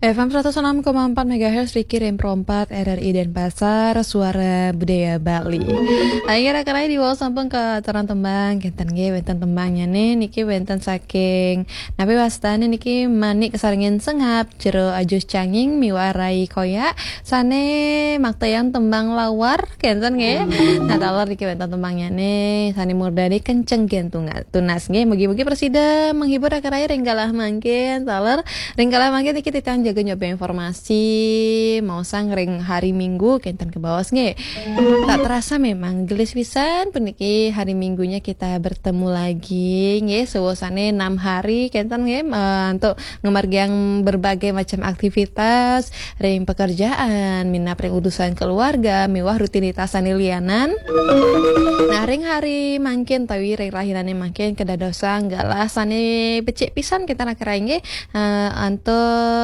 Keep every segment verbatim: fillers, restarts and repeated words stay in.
F M seratus enam koma empat megahertz, Riki Rempro empat, R R I Denpasar, Suara Budaya Bali. Akhirnya kena di wall samping ke terang tembang, kenten ge, wenten tembangnya nih, niki wenten saking, napi wastane niki manik kesarengin sengap, jero ajus canging, miwarai koya, sane maktayang tembang lawar, kenten ge. Nah, taler niki wenten tembangnya nih, sane murdani kenceng gentungan. Tunas nggih, mugi-mugi prasida menghibur raka rai ring galah mangkin, taler ring galah mangkin niki titiang jaga nyoba informasi, maosang ring hari Minggu kenten kebaos nggih. Tak terasa memang gelis pisan puniki hari Minggunya kita bertemu lagi nggih, sewosane enam hari kenten nggih, eh, untuk ngemargiang berbagai macam aktivitas ring pekerjaan, minab ring urusan keluarga, miwah rutinitas sane lianan. Nah, ring hari mangkin tawi ring rahinane mangkin kedadosang galah sane becik pisan kita raka rai nggih, eh, anto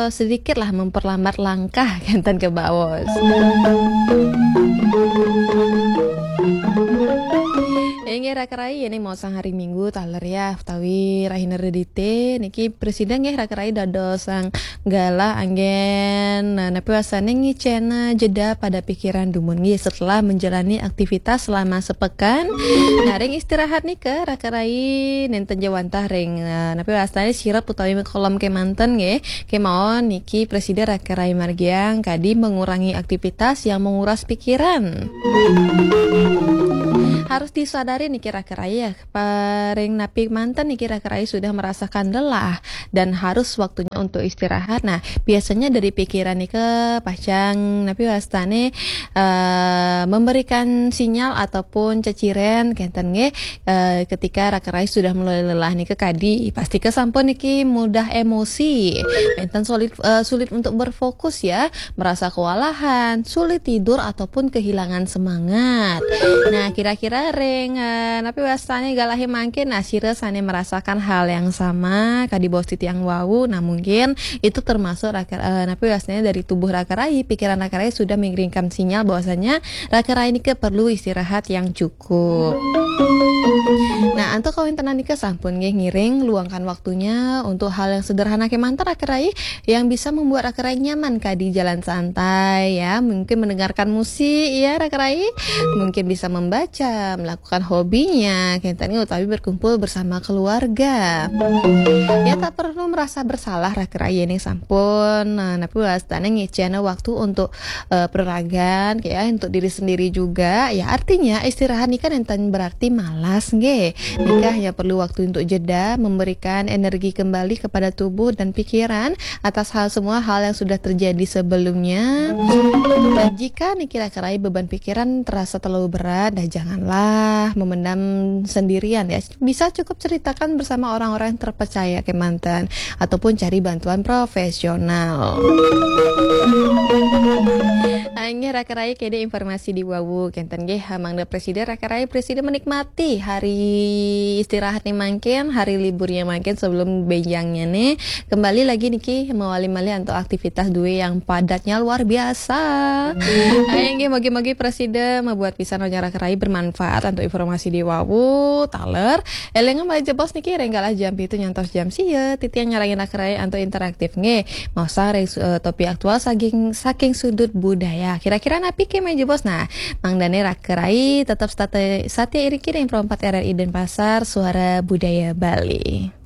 sedikit lah memperlambat langkah kenten kebaos. Inggih raka rai, ini maosang hari Minggu taler ya, tawi rahina redite, niki prasida nggih raka rai dadosang galah anggen, nah, napi wastane ngicena jeda pada pikiran dumun nggih setelah menjalani aktivitas selama sepekan. Nah, ring istirahat nika raka rai nenten jawantah ring, eh, napi wastane sirep utawi mekolom kemanten nggih. Kemawon niki prasida raka rai margiang kadi mengurangi aktivitas yang menguras pikiran. Harus disadari niki raka rai ya, paring napi manten niki raka rai sudah merasakan lelah dan harus waktunya untuk istirahat. Nah, biasanya dari pikiran nika pacang napi wastane, eh, memberikan sinyal ataupun ceciren kenten nggih, eh, ketika raka rai sudah mulai lelah nika kadi, pasti kesampun niki mudah emosi, enten sulit, eh, sulit untuk berfokus ya, merasa kewalahan, sulit tidur ataupun kehilangan semangat. Nah, kira-kira ring, eh, napi wastane galahe mangkin, nah, sira sane merasakan hal yang sama kadi baos titiang wau. Nah, mungkin itu termasuk raka, eh, napi wastane dari tubuh raka rai, pikiran raka rai sudah mengirimkan sinyal bahwasanya raka rai nika perlu istirahat yang cukup. Nah, antuk kawentenan nika sampun nggih ngiring luangkan waktunya untuk hal yang sederhana kemanten raka rai yang bisa membuat raka rai nyaman kadi jalan santai ya, mungkin mendengarkan musik ya raka rai, mungkin bisa membaca, melakukan hobinya, kenten utawi berkumpul bersama keluarga. Ya, tak perlu merasa bersalah raka rai ini sampun, nah, napi wastane ngicena waktu untuk, eh, pereragan ya, untuk diri sendiri juga. Ya, artinya istirahat nika nenten berarti malas nggih. Nika hanya perlu waktu untuk jeda, memberikan energi kembali kepada tubuh dan pikiran atas hal, semua hal yang sudah terjadi sebelumnya. Dan jika niki raka rai beban pikiran terasa terlalu berat, dah janganlah memendam sendirian ya. Bisa cukup ceritakan bersama orang-orang yang terpercaya kemanten ataupun cari bantuan profesional. Inggih raka rai, kede informasi di wau kenten nggih, mangda prasida raka rai prasida menikmati hari istirahat nih mangkin, hari liburnya mangkin sebelum benjangnya nih. Kembali lagi niki mawali malih antuk aktivitas due yang padatnya luar biasa. Ayo nggih, mogi-mogi prasida membuat pisan raka rai bermanfaat antuk informasi di wau, taler. Elinga malih jebos niki ring galah jam pitu nyantos jam sia, titiang nyarengin raka rai antuk interaktif nggih. Maosang ring su-, eh, topik aktual saking, saking sudut budaya. Kira-kira napi ke malih jebos? Nah, mangdane raka rai tetep state-, satia iriki ring Pro empat R R I Denpasar, Suara Budaya Bali.